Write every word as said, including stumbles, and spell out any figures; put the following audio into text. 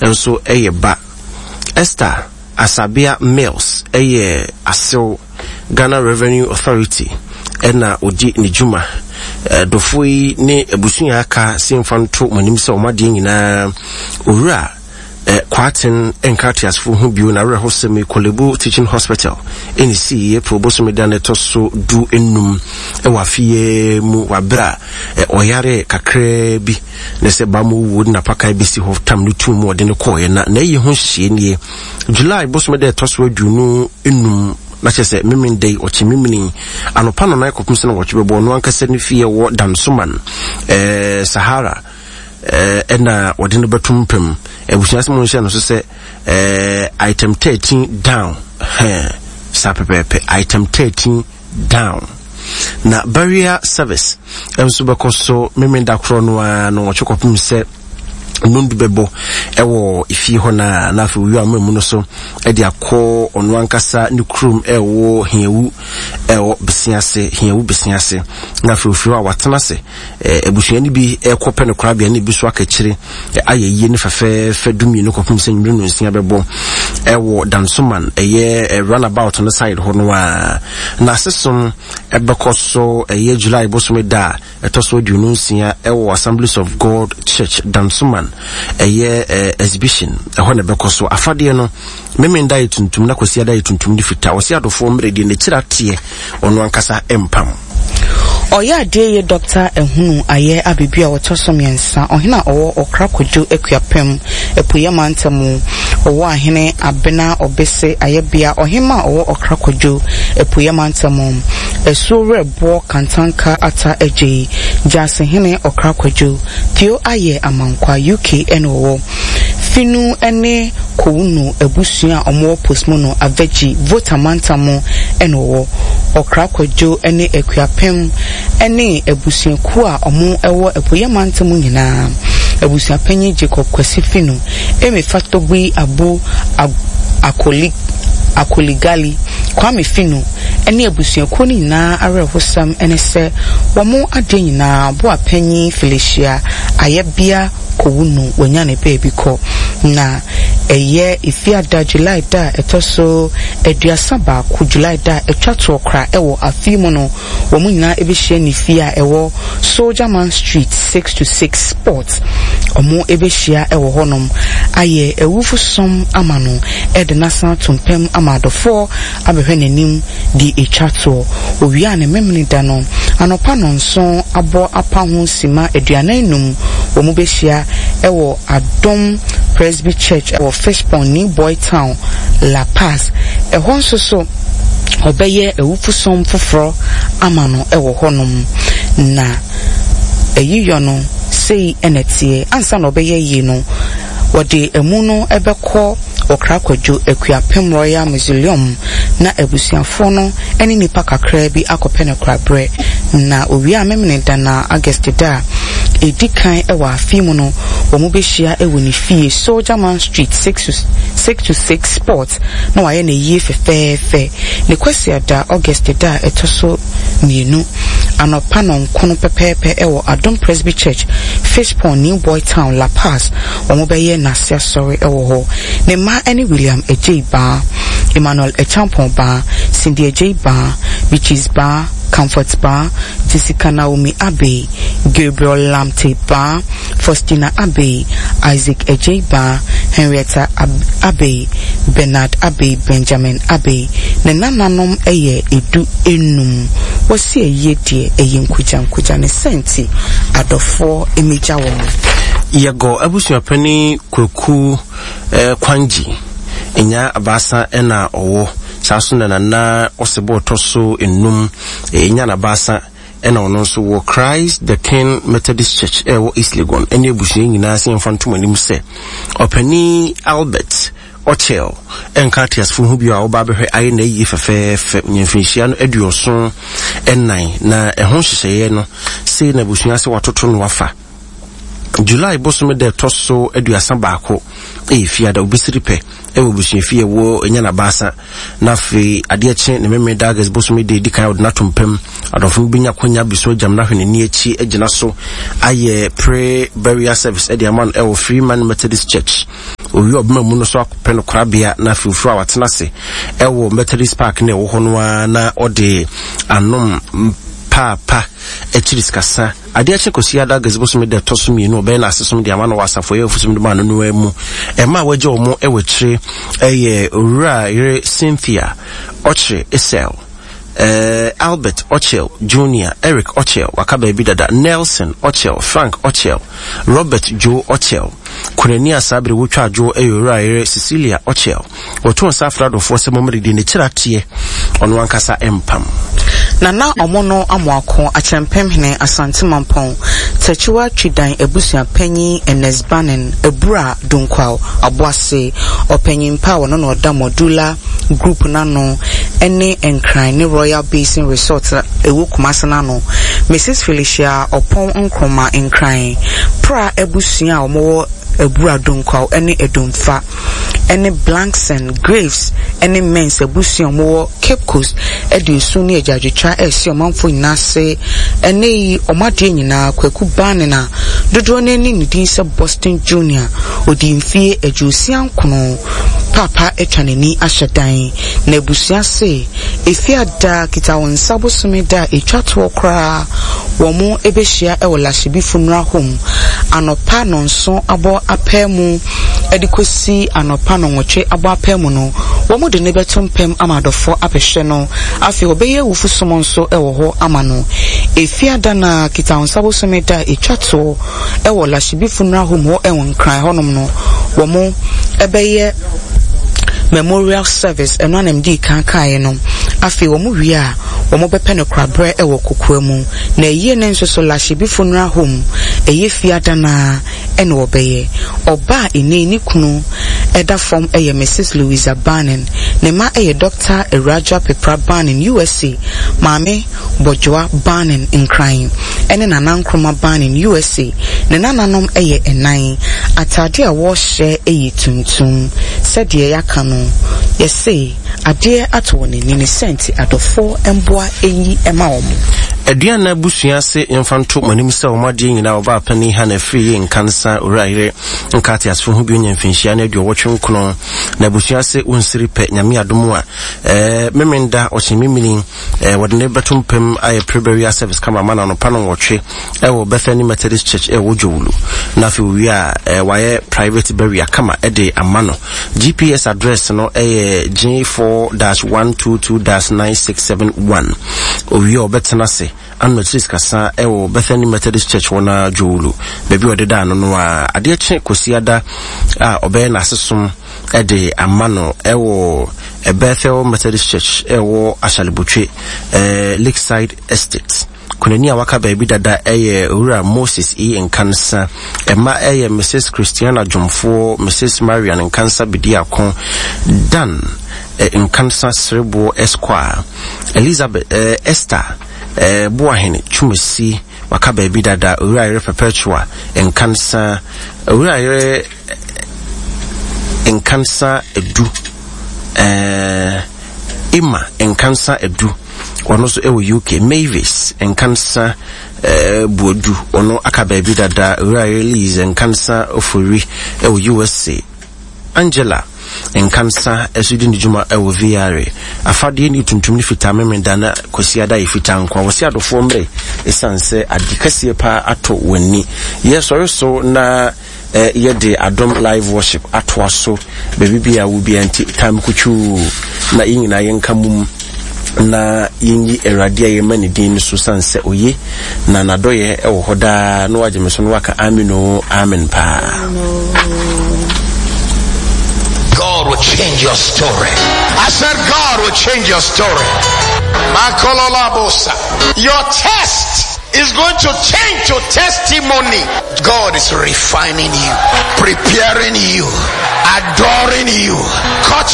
nso ɛyɛ ba. Esther Asabea Mills ɛyɛ asew, Ghana Revenue Authority ɛna odi ne dwuma. Dɔfoɔ yi ne abusua aka sɛ mfa nto mo anim sɛ ɔmo adeɛ nyinaa owura eh, Kwaten nka ateasefoɔ ho bio. Na awerɛhosɛm yi, Korle Bu Teaching Hospital ɛne sii April bosome da no ɛtɔ so du enum ɛwɔ afeɛ mu, waberɛ a ɔyare kakraa bi na sɛ ba mu wuo de napakan bɛsi hɔ tam no tum mu ɔde no kɔɔeɛ. Na na ɛyɛ ho nhyehyɛeɛ nie: July bosome da ɛtɔ so aduonu enum, na kyerɛ sɛ memen da yi, ɔkye memene anɔpa no nan kɔpem sɛ na wɔtwe bɛbɔ, ɔno ankasa ne fie wɔ Dansoman ɛɛ Sahara ɛna wɔde no bɛto mpam. Abusua sɛ mo nhyɛ no so sɛ ɛɛ item thirteen down hɛn saa pɛpɛɛpɛ, item thirteen down. Na burial service nso bɛkɔ so memenda korɔ no ara no wɔtwe kɔpem sɛ nondu bɛbɔ ɛwɔ efie hɔ, na na afei owi ama mu no so ɛde akɔ ɔno ankasa ne kurom ɛwɔ Hiawu, ɛwɔ Besiase, Hiawu Besiase. Na afei ofiri hɔ a watena ase, abusua no bi ɛkɔ pɛ no korabea ne bi so akakyire ayɛ yie ne fɛfɛɛfɛ dumienu kɔpem sɛ nwumire no nsia bɛbɔ ɛwɔ Dansoman, ɛyɛ runabout no side hɔ no a. Na asesom ɛbɛkɔ so ɛyɛ July bosome da a ɛtɔ so aduonu nsia ɛwɔ Assemblies of God Church, Dansoman, ɛyɛ Exhibition ɛhɔ na ɛbɛkɔ so. Afadeɛ no, memenda yɛ tuntum na Kwasi ada yɛ tuntum ne fitaa. Ɔsi adɔfoɔ mmerɛ deɛ n'akyiri ateɛ, ɔno ankasa mpam. Ɔyɛ adeɛ yɛ Dɔkta Ehunu Ayɛ Abebi a wɔtɔ so mmiɛnsa, ɔhene a ɔwɔ Ɔkra Kwadwo Akuapem, Apueeɛ Mantam. Ɔwɔ ahene Abena Ɔbese Ayɛbea, ɔhema a ɔwɔ Ɔkra Kwadwo, Apueeɛ Mantam. Asuo Werɛboɔ Kantanka Ata Agyei, Gyasehene Ɔkra Kwadwo, Theo Ayɛ Amankwa, U K ɛna ɔwɔ Finu ne Kowunu abusua a wɔwɔ Posmono Avegyi, Volta Mantam ɛna ɔwɔ Ɔkra Kwadwo ne Akuapem ne abusuakuo a wɔwɔ Apueeɛ Mantam nyinaa. Abusuapanyin Jacob Kwasi Finu, Emi Fatogbi Abu Akoli Akoligali, Kwame Finu ne abusuakuo no nyinaa awerɛhosɛm ne sɛ wɔn adeɛ nyinaa boapanyin Felicia Ayɛbea Kowunu wanya ne baabi kɔ. Na ɛyɛ Efiada, July da a ɛtɔ so aduasa baako, July da a ɛtwa toɔ kora ɛwɔ afe mu no, wɔn nyinaa ɛbɛhyia ne fie a ɛwɔ Soldierman Street six to six Sport. Wɔn ɛbɛhyia ɛwɔ hɔnom ayɛ awufo som ama no, ɛde n'asan ato mpam ama adɔfoɔ abɛhwɛ n'anim de etwa toɔ. Owia ne memene da no anɔpa nɔnson abɔ apa ho sima aduanan num, wɔn bɛhyia ɛwɔ Adom Presby Church ɛwɔ Fishpond, New Boy Town, La Paz. Ɛhɔ nso so ɔbɛyɛ awufosom foforɔ ama no ɛwɔ hɔnom. Na ɛyiyɔ no sei ɛna teɛ: ansa na ɔbɛyɛ yie no, wɔde emu no ɛbɛkɔ Ɔkra Kwadwo Akuapem Royal Mausoleum na abusuafoɔ no ne nipa kakraa bi akɔpɛ no koraberɛ. Na owia memene da na August da a ɛdi kan ɛwɔ afe mu no, wɔn bɛhyia ɛwɔ ne fie, Soldierman Street six to six to six Sport, na wayɛ ne yie fɛfɛɛfɛ. Ne Kwasiada, August da a ɛtɔ so mmienu, anɔpa nɔnkono pɛpɛɛpɛ ɛwɔ Adom Presby Church, Fishpond, New Boy Town, La Paz, wɔn bɛyɛ n'ase asɔre ɛwɔ hɔ. Ne mma ne William Agyei Baa, Emmanuel Acheampong Baa, Cindy Agyei Baa, Beatrice Baa, Comfort Baa, Jessica Naomi Abbey, Gabriel Lamte Baa, Faustina Abbey, Isaac Agyei Baa, Henrietta Ab Abbey, Bernard Abbey, Benjamin Abbey. Ne nananom yɛ edu enum. Wɔsi ayie deɛ ɛyɛ nkugya nkugya ne sɛnti adɔfoɔ emegya wɔn. Yɛgɔ abusuapani Kwaku eh, Kwangyi nya abaasa ɛna ɔwɔ saa so na nana ɔsebɔ ɔtɔ so enum ɛnya n'abaasa ɛna ɔno nso wɔ Christ the King Methodist Church ɛwɔ East Legon ɛne abusua nyinaa sɛ yɛmfa ntom anim sɛ ɔpanin Albert Ɔkyɛl ɛnka ateasefo ho bio a wɔba abɛhwɛ ayɛ na ayie fɛfɛɛfɛ nyɛmfinhyia no aduɔson ɛnan. Na ɛho nhyehyɛeɛ no sei na abusua sɛ watoto no wafa: July bosome da ɛtɔ so aduasa baako, ɛyɛ fiada, obisiri pɛ ɛwɔ abusuafie ɛwɔ ɛnya n'abaasa. Na afei adeɛ kye ne meme da, August bosome da edi kan, ɔde n'ato mpam. Adɔfo no bɛnya akwanya biso agyam n'ahwɛ n'ani akyi agyina so ayɛ pre burial service ɛde ama no ɛwɔ Freeman Methodist Church. Owie ɔbɛma mu no so akɔpɛ no korabea na afei ofiri a watena ase ɛwɔ Methodist Park na ɛwɔ hɔ no ara na ɔde anom paapa akyiri sikasa. Adeɛ akye kɔsi ada August bosome da ɛtɔ so mmienu, ɔbɛyɛ n'asesom de ama no wɔ asafo ɛyɛ ofusom de ma no no mu. Ɛma a wɔagye wɔn ɛwɔ akyire ɛyɛ Owura yere Cynthia Ɔkyere Esel, uh, Albert Ochel Junior, Eric Ochel, waka baabi dada, Nelson Ochel, Frank Ochel, Robert Joe Ochel. Kunani a saa bere wotwa adwo ɛyɛ Owura yere Cecilia Ochel. Wɔto nsa afra adɔfoɔ sɛ mommere di n'akyiri ateɛ ɔno ankasa mpam. Nana Ɔmono Amoako, Akyɛmpemhene, Asante Mampɔn, Takyiwa Twidan abusua panyin Ernest Banning, Abura Dunkwaw, Aboase, ɔpanyin pa a wɔno na ɔda Modula Group n'ano ne Nkran ne Royal Basin Resort a ɛwɔ Kumase n'ano, Missus Felicia Ɔpɔn Nkrumah, Nkran, Pra abusua a wɔwɔ Abura Dunkwaw ne Adumfa, ne Blankson, Graves ne Mens abusua a wɔwɔ Cape Coast de osu ne agyaadwotwa ɛresi ɔmanfoɔ nyinaa ase. Ɛnɛ yi ɔmo adeɛ nyinaa Kwaku Banning a dodoɔ no ani ne din sɛ Boston Junior, ɔdi mfie aduosia nkono, paapa atwa n'ani ahyɛ dan na abusua se efi ada kita wɔn nsa bosome da a etwa toɔ koraa wɔn bɛhyia ɛwɔ Lashibi Funeral Home anɔpa nɔnso abɔ apɛ mu ɛde kɔsi anɔpa nɔnwɔtwe abɔ apɛ mu no, wɔn de ne bɛto mpɛm ama adɔfoɔ abɛhwɛ no. Afei wɔbɛyɛ awufu som nso ɛwɔ hɔ ama no. Efi ada na kita wɔn nsa bosome da a etwa toɔ ɛwɔ Lashibi Funeral Home hɔ ɛwɔ Nkran hɔnom no, wɔn ɛbɛyɛ memorial service ɛno anam di kan kaeɛ no. Afei wɔn wie a, wɔn bɛpɛ no korabrɛ ɛwɔ kokoa mu na ɛyie ne nso so Lashibi Funeral Home ɛyɛ fie adana ɛna wɔbɛyɛ. Ɔbaa ene ne kunu ɛda fam ɛyɛ Missus Louisa Banning. Ne ma ɛyɛ Doctor Ewuradwoa Pepra Banning, U S A, Maame Bɔdwoa Banning, Nkran, ɛne Nana Nkrumah Banning, U S A. Ne nananom ɛyɛ ɛnan. Ataade a wɔrehyɛ ɛyɛ tuntum. Sɛdeɛ yɛaka no, yɛse adeɛ ato wɔn ani ne sɛnti adɔfoɔ mboa ɛyi ɛma wɔn. Aduana abusua ase yɛmfa nto mo anim sɛ wɔn adeɛ nyinaa wɔba apani ha na afiri yɛ Nkansa Owura yere nka ateasefo ho bi onya mfinhyia no aduɔwɔtwe nkron na abusua ase wonsiri pɛ. Nyame adom a ɛɛ memenda ɔkye memini ɛɛ wɔde ne bɛto mpam ayɛ pre-burial service kama ama no anɔpa no nwɔtwe ɛwɔ Bethany Methodist Church ɛwɔ Dwowulu na afei owie a ɛɛ wayɛ private burial kama ɛde ama no. G P S address no ɛyɛ G four dash one two two dash nine six seven one. Owie a ɔbɛtena ase ano akyiri sikasa ɛwɔ Bethany Methodist Church wɔ na Dwowulu baabi a ɔde da ano no a adeɛ kye kɔsi a ɔbɛyɛ n'asesom ɛde ama no ɛwɔ Bethel Methodist Church ɛwɔ Ashalebotwe, ɛɛ Lakeside Estate. Kunani a waka baabi dada ɛyɛ Owura Moses E Nkansa. Ɛma ɛyɛ Missus Christiana Dwomfoɔ, Missus Marian Nkansa Bediako, Dan eh, Nkansa Sereboɔ Esquire, Elizabeth eh, Esther eh, Boahene Twumasi, waka baabi dada, Owura yere Perpetua Nkansa, Owura yere Nkansa Edu, eh, Emma Nkansa Edu, ɔno nso ɛwɔ U K, Mavis Nkansa eh, Buodu, ɔno aka baabi dada, Owura yere Liz Nkansa Ofori ɛwɔ U S A, Angela Nkansa ɛso di ne dwuma ɛwɔ V R A. Afadeɛ ne tuntum ne fitaa. Memenda na kwasiada yɛ fitaa nko a wɔsi adɔfoɔ mmerɛ ɛsiane sɛ ade kɛseɛ paa atɔ w'ani. Yɛsɔre so na eh, yɛde Adom Live Worship atoa so baabi bi a wo bia nti time kutwuu na yɛn nyinaa yɛnka mum na yɛnyi Awurade a yɛma ne din no so sane sɛ oye na n'adɔyɛ ɛwɔ hɔ daa na wagye me so no waka amen o, amen paa. God will change your story. I said God will change your story. Makololabosa. Your test is going to change to testimony. God is refining you, preparing you, adoring you, cut